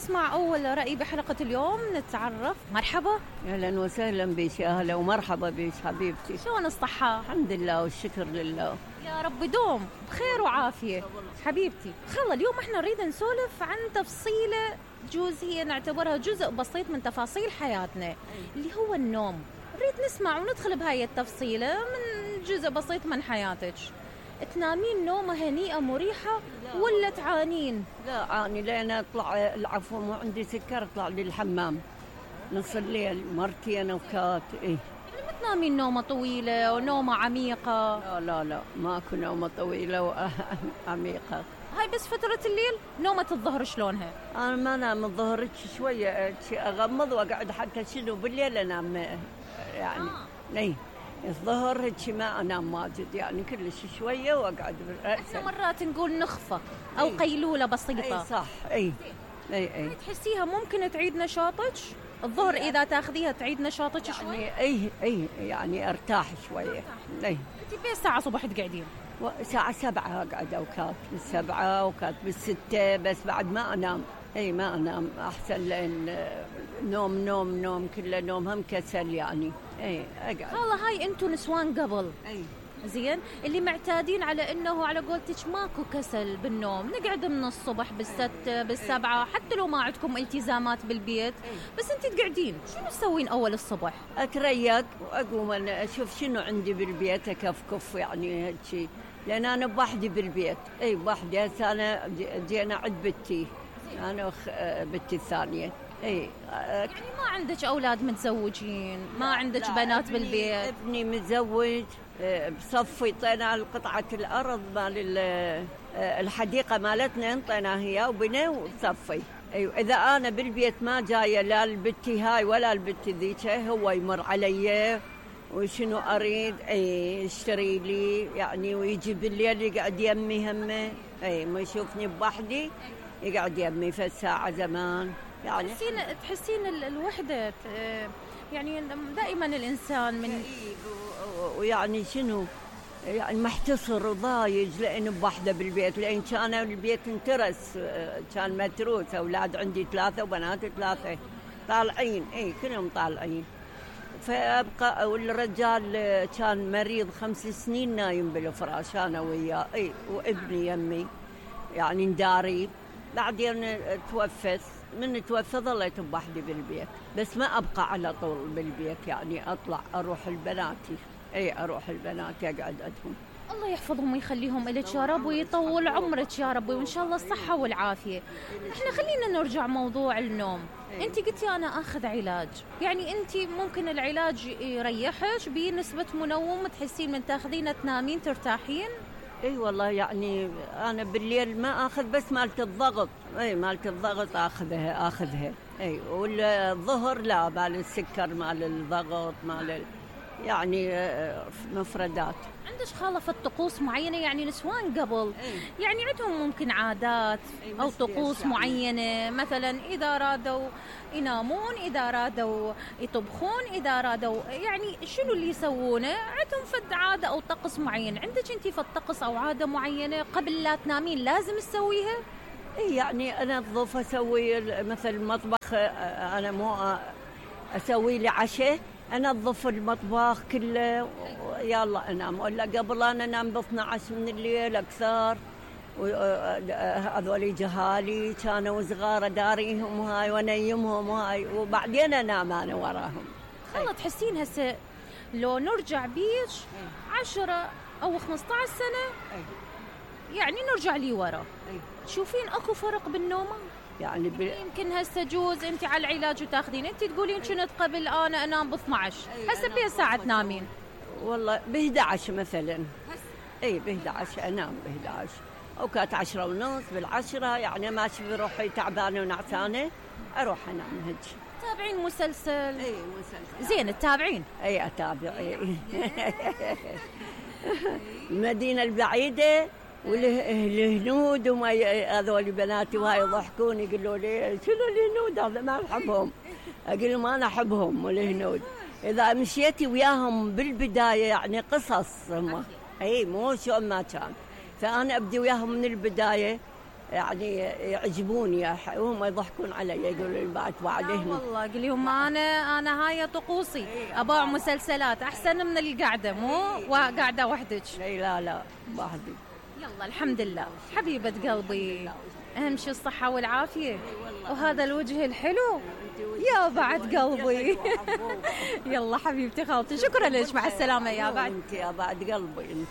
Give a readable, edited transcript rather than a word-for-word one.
نسمع أول رأي بحلقة اليوم، نتعرف. مرحبا. أهلا وسهلا بك، يا هلا ومرحبا بك حبيبتي. شلون الصحة؟ الحمد لله والشكر لله. يا رب دوم بخير وعافية حبيبتي. خلا اليوم احنا نريد نسولف عن تفصيلة جزء هي نعتبرها جزء بسيط من تفاصيل حياتنا اللي هو النوم. نريد نسمع وندخل بهاي التفصيلة من جزء بسيط من حياتك. تنامين نومة هنيئة مريحة ولا تعانين؟ لا أعاني، لأن أطلع العفو مو عندي سكر، أطلع للحمام نص الليل مرتي أنا وكات. إيه ما تنامين نومة طويلة ونومة عميقة؟ لا ماكو نومة طويلة وعميقة. هاي بس فترة الليل. نومة الظهر شلونها؟ أنا ما أنام الظهر شوية أغمض وأقعد، حتى شنو بالليل أنام يعني. إيه الظهر هيك ما أنام واجد يعني، كلش شوية وأقعد بالرأس. احنا مرات نقول نخفة أو قيلولة بسيطة. أي صح. أي تحسيها ممكن تعيد نشاطك الظهر إذا تاخذيها تعيد نشاطك شوي؟ يعني أي يعني أرتاح شوية. أي أنت بين ساعة صبح تقعدين؟ ساعة 7 أقعد، أوقات بال7 وكات بال6، بس بعد ما أنام. أي ما أنام أحسن، لأن نوم كله نوم، هم كسل يعني. أي أقعد. والله هاي أنتوا نسوان قبل. أي زين اللي معتادين على انه على قولتك ماكو كسل بالنوم، نقعد من الصبح بال6 بال7 حتى لو ما عندكم التزامات بالبيت. بس انت تقعدين شنو تسوين اول الصبح؟ اتريق واقوم انا اشوف شنو عندي بالبيت، اكفكف يعني هالشي، لان انا بوحدي بالبيت. اي بوحدي. هسه انا جينا عند بنتي، انا بنتي الثانيه. اي يعني ما عندك اولاد متزوجين؟ ما عندك بنات بالبيت؟ ابني متزوج، بصفي طينا قطعة الأرض مال الحديقة مالتنا، انطيناها هي وبنا وصفي. أيوة إذا أنا بالبيت ما جاية لا البتي هاي ولا البتي ذيك، هو يمر علي وشنو أريد يشتري لي يعني، ويجي بالليل يقعد يمي همه. ما يشوفني بوحدي يقعد يمي في الساعة زمان يعني. تحسين الوحدة يعني دائما الإنسان من ويعني شنو يعني محتصر وضايج، لأن بوحدة بالبيت، لأن كان البيت انترس، كان متروس، أولاد عندي 3 وبنات 3 طالعين. كلهم طالعين. فأبقى والرجال كان مريض 5 سنين نايم بالفراش أنا وياه. وابني يمي يعني نداري. بعدين توفت، من توفى ظليت بوحدي بالبيت، بس ما أبقى على طول بالبيت يعني، أطلع أروح البناتي. أروح البنات أقعد عندهم. الله يحفظهم ويخليهم إلك يا رب، ويطول عمرك يا رب، وإن شاء الله الصحة والعافية. احنا خلينا نرجع موضوع النوم. انت قلتي أنا أخذ علاج، يعني انت ممكن العلاج يريحك بنسبة منوم تحسين من تاخذينه تنامين ترتاحين؟ والله يعني أنا بالليل ما أخذ، بس مالت الضغط. مالت الضغط أخذها. والظهر لا، مال السكر مال الضغط مال يعني مفردات. عندك خالة في الطقوس معينة؟ يعني نسوان قبل يعني عندهم ممكن عادات أو طقوس معينة، مثلا إذا رادوا ينامون، إذا رادوا يطبخون، إذا رادوا يعني شنو اللي يسوونه، عندهم فد عادة أو طقس معين. عندك أنتي في الطقس أو عادة معينة قبل لا تنامين لازم تسويها؟ يعني أنا أنظف، أسوي مثل المطبخ، أنا مو أسوي لي عشاء، أنظف المطبخ كله يلا أنام. ولا قبل أنا أنام ب 12 من الليل أكثر، وهذول جهالي كانوا صغار داريهم وهاي ونيمهم وهاي، وبعدين أنام أنا وراهم. خلا تحسين هسه لو نرجع بيش 10 أو 15 سنة يعني نرجع لي ورا، تشوفين أكو فرق بالنوم؟ يعني يمكن هسه جوز انت على العلاج وتاخذين، انت تقولين كنت قبل انا انام ب 12، هسه بين ساعه تنامين؟ والله ب 11 مثلا. ب 11 انام ب 11، او كانت 10 ونص بال10 يعني ماشي بروحي تعبانه ونعسانه اروح انام هيك. تابعين مسلسل؟ مسلسل. زين تتابعين؟ اتابع. المدينه البعيده والهنود وما هذول بناتي وهاي يضحكون يقولوا لي شنو الهنود هذا ما أحبهم. أقول لهم أنا أحبهم الهنود. إذا مشيتي وياهم بالبداية يعني قصص هم، مو شو ما كان، فأنا أبدي وياهم من البداية يعني يعجبوني، هم يضحكون علي يقولوا لي بعد هنا. والله قل لهم انا هاي طقوسي، اباع مسلسلات احسن من القعده، مو قاعده وحدك. لا وحدي. يلا الحمد لله حبيبه قلبي، اهم شيء الصحه والعافيه وهذا الوجه الحلو يا بعد قلبي. يلا حبيبتي خالتي، شكرا لك، مع السلامه يا بعد. انت يا بعد قلبي انت.